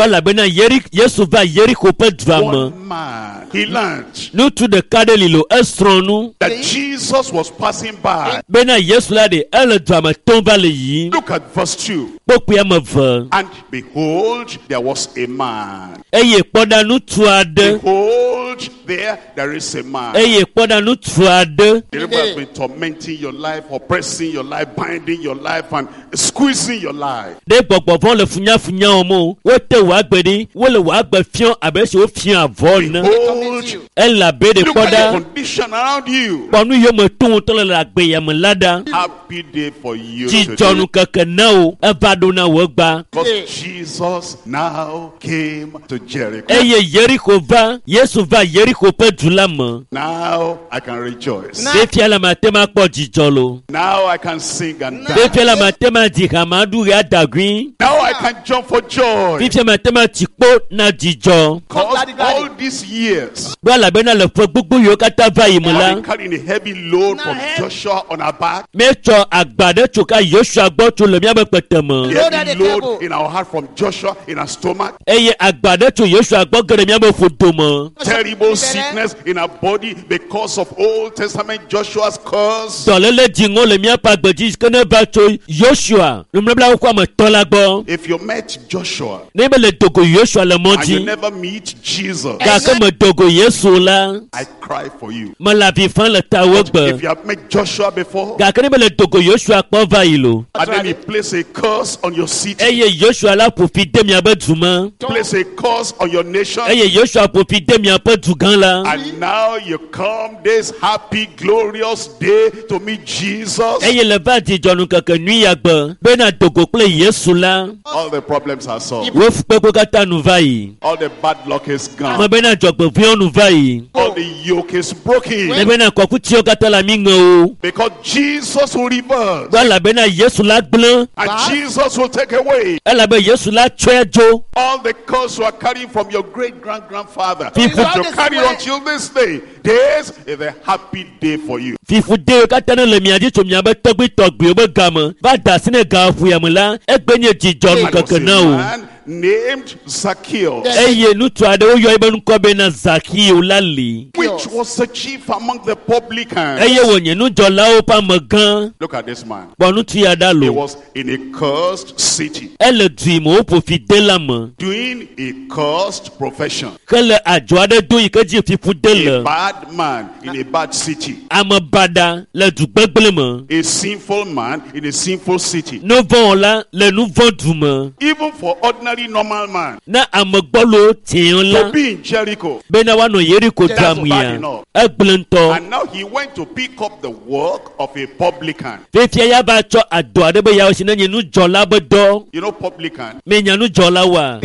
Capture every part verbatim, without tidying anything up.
Elabena Yeri Yesu va Yeriko ƒe dua me. One man, he learned Ŋutsu ɖeka ɖe li lo esrɔ̃ nu that Jesus was passing by. bena Yesu la ɖe ele dua me tom va le yiyim. Look at verse two. Kpokpui ame eve. And behold, there was a man. Eye kpɔ ɖa ŋutsu aɖe. Behold, there, there is a man. Eye kpɔ ɖa ŋutsu aɖe. The devil has been tormenting your life, oppressing your life, binding your life, and squeezing your life. Ɖe gbɔgbɔ vɔ̃ le funyafunya wɔm o. Wote wò agbe ɖi. Wole wò agbe fiɔ abe esi wofia avɔ ene. Behold, Elabe ɖe look kpɔ at the ɖa. condition around you. Kpɔ nu yiwo me tom wotɔ le le agbe ya me la ɖa. Happy day for you today. Dzidzɔnu keke na wo. Eva ɖo na wò egba. Because Jesus now came to Jericho. Eye Yeriko va. Yesu va Yeriko ƒe du la me. Now I can rejoice. Fifia la mate ma kpɔ dzidzɔ lo. Now I can sing and dance. Fifia la mate ma dzi ha ma ɖu ɣe adagui. Now I can jump for joy. Fifia mate ma tsi kpo na dzidzɔ. Because all these years, Ɖo elabena le ƒe gbogbo yiwo katã va yi me I've la, been carrying a heavy load from Joshua on our back. míetsɔ agba ɖe tso ka Yosua gbɔ tso le míaƒe kpete me. The heavy load in our heart from Joshua in our stomach. Eye agba ɖe tso Yosua gbɔ ge ɖe míaƒe ƒodo me. Terrible sickness in our body because of Old Testament Joshua's curse. Dɔléle dziŋɔ le míaƒe agbe dzi ke ne va tso Yosua nubabla xoxoa me tɔ la gbɔ. If you met Joshua Ne be le dogo Yosua le mɔ and you dzi never meet Jesus, gake me dogo Yesu la, I cry for you. mele avi fam le tawò If gbe. you have met Joshua before Gake ne be le dogo Yosua kpɔ va yi lo. and then he placed a curse on your city, Eye Yosua la ƒo fi de miaƒe du me. place a curse on your nation, Eye Yosua ƒo fi de miaƒe du gã la. and now you come this happy, glorious day to meet Jesus. Eye le va dzidzɔnu keke nyui ya gbe bena dogo kple Yesu la, All the problems are solved. wo fukpekpe katã nu va yi. All the bad luck is Me gone. bena dzɔgbevɔ̃ewo nu va yi. All the yoke is broken. Ne bena kɔkutiwo katã le ami ŋe o. Because Jesus will reverse Gbɔ elabena Yesu la gblẽ. and Jesus will take away Elabe Yesu la tsɔe dzo. all the curse you are carrying from your great grand grandfather. People- You carry until this day. This is a happy day for you. Fiƒodewo katã ne le mia dzi tso miabe tɔgbuitɔgbuiwo be game va da asi ne gaƒoya me la, egbe nye dzidzɔnu And there was keke a na wo. man named Zacchaeus, Eye ŋutsu aɖewo yɔ ebe ŋkɔ bena Zakeo la li. which was the chief among the publicans. Eye wònye nudzɔlawo ƒe amegã. Look at this man. Kpɔ ŋutsu ya ɖa He lo. was in a cursed city, Ele du yi me woƒo fi de la me. doing a cursed profession. Ke le adzɔ aɖe do yi ke dzi fiƒode A le. bad man in a bad city. Ame baɖa le du gbegblẽ me. A sinful man in a sinful city. Nuvɔ̃wɔla le nuvɔ̃ du me. Even for ordinary normal man Ne ame gbɔlo tiɛ la to be in Jericho. bena woanɔ Yeriko That's dua bad mea, enough. egblẽ ŋutɔ. And now he went to pick up the work of a publican. Fifia ya va tsɔ adɔ aɖe be yeawɔ si ne nye nudzɔla be dɔ. You know publican? Menya nudzɔla woa?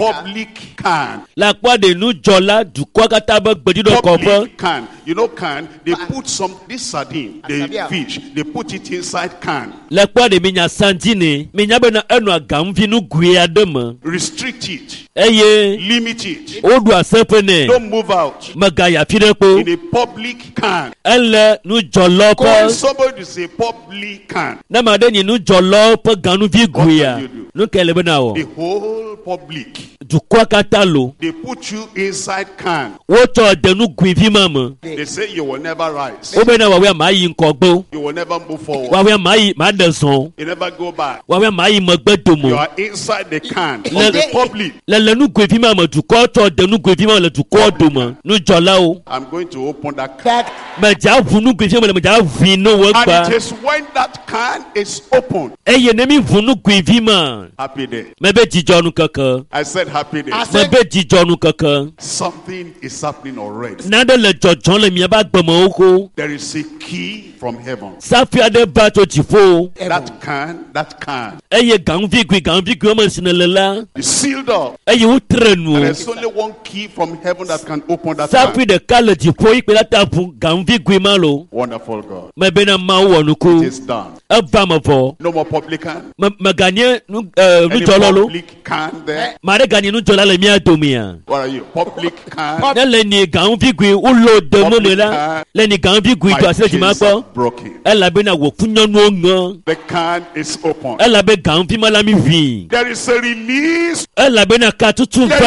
Publican. Le akpɔ ɖe nudzɔla dukɔa katã be gbeɖuɖɔ kɔƒe. Public can. You know can, they put some, this sardine, the fish, they put it inside can. Le kpɔ ɖe minya sandine. Minya bena enɔa gaŋuvi nugui aɖe me. Restrict it. Eye Limit it. woɖu aseƒe nɛ. Don't move out. Megayi afi ɖe kpo. In a public can. Ele nudzɔlawo Calling ƒe somebody is a publican. ne ame aɖe nyi nudzɔlawo ƒe ganuvi guia, What can you do? nu kae le be na wɔ? The whole public. Dukɔa katã lo. They put you inside can. Wotsɔ de nugui vi ma me. They say you will never rise. Wobena woawoe ma yi ŋgɔgbe o. You will never move forward. Woawoe ma yi ma ɖe zɔn. You never go back. Woawoe ma yi megbe dome You o. are inside the can of Le- the public. Le le nugoe vi ma me dukɔ tsɔ de nugoe vi ma me le dukɔ dome. Nudzɔlawo. I'm going to open that can. Medza ʋu nugoe vi ma me le medza ʋui no wo And gba. it is when that can is opened. Eye ne mi ʋu nugoe vi ma, Happy day. mebe dzidzɔ nu keke. I said happy day. I said- Mebe dzidzɔ nu keke. Something is happening already. Nane le dzɔdzɔm le miaƒe agbemewo ko. There is a key from heaven. Safi aɖe va tso dziƒo. That can, that can Eye gaŋuvigui gaŋuvigui wɔme si ne le la is sealed up. eye wotre nu. And there's only one key from heaven that can open that can. Safi ɖeka le dziƒo yi kpe la ta ʋu gaŋuvigui ma lo. Wonderful God. Mebena Mawu wɔ It nuku. is done. Eva me vɔ. No more publican. Me meganye nu eh, Any nudzɔla lo. public can there. Ma ɖe ganye nudzɔla le mía domea. What are you? Public can. Ne le ni gaŋuvigui wolo de mo me la le ni gaŋuvigui My do asi le dzima chains kpɔ. are broken. Elabena wò funyɔnuwo ŋe. The can is open. Elabe gaŋuvi ma la mi ʋui. There is a release. Elabena katutu There va.